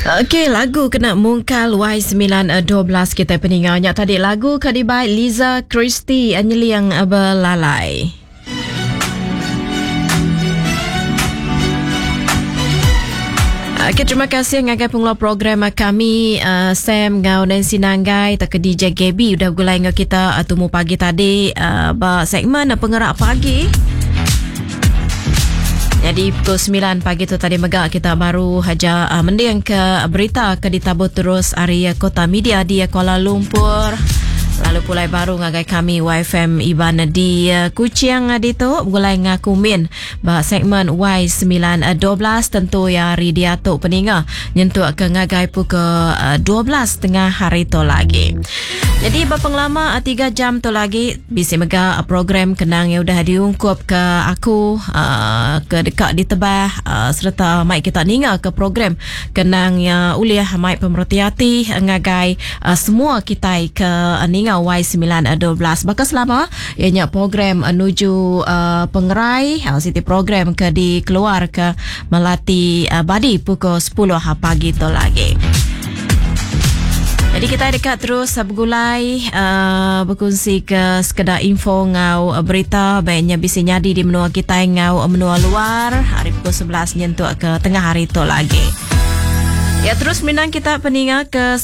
Okey, lagu kena mungkal Y9 12 kitai peninga nya tadi lagu ke dibai Liza Christy Nyeling Belalai. Okey, terima kasih ngagai pengeluar program kami uh, Sam ngau Nancy Nanggai tak ke DJ Gaby udah begulai ngau kita uh, tumu pagi tadi uh, ba segmen uh, pengerak pagi. Jadi pukul 9 pagi tu tadi mega kita baru haja uh, mending ke berita ke ditabur terus ari uh, Kota Media di uh, Kuala Lumpur. Lalu pulai baru ngagai kami YFM Iban di uh, Kuching uh, ditu begulai ngaku min ba segmen Y9 12 tentu ya hari diatu peninga nyentuk ke ngagai pukul uh, 12 tengah hari tu lagi. Jadi ba pengelama 3 jam tu lagi bisi mega program kenang yang udah diungkup ke aku uh, ke deka ditebah uh, sereta mai kita ninga ke program kenang yang ulih mai pemereti ati ngagai uh, semua kitai ke ninga Y9 12. Baka selama ianya program nuju uh, pengerai uh, siti program ke dikeluar ke Melati uh, Badi pukul 10 pagi tu lagi. Jadi kita dekat terus bergulai uh, berkongsi ke sekedar info ngau berita baiknya bisa nyadi di menua kita ngau menua luar hari pukul 11 nyentuk ke tengah hari tu lagi. Ya terus minang kita peninga ke.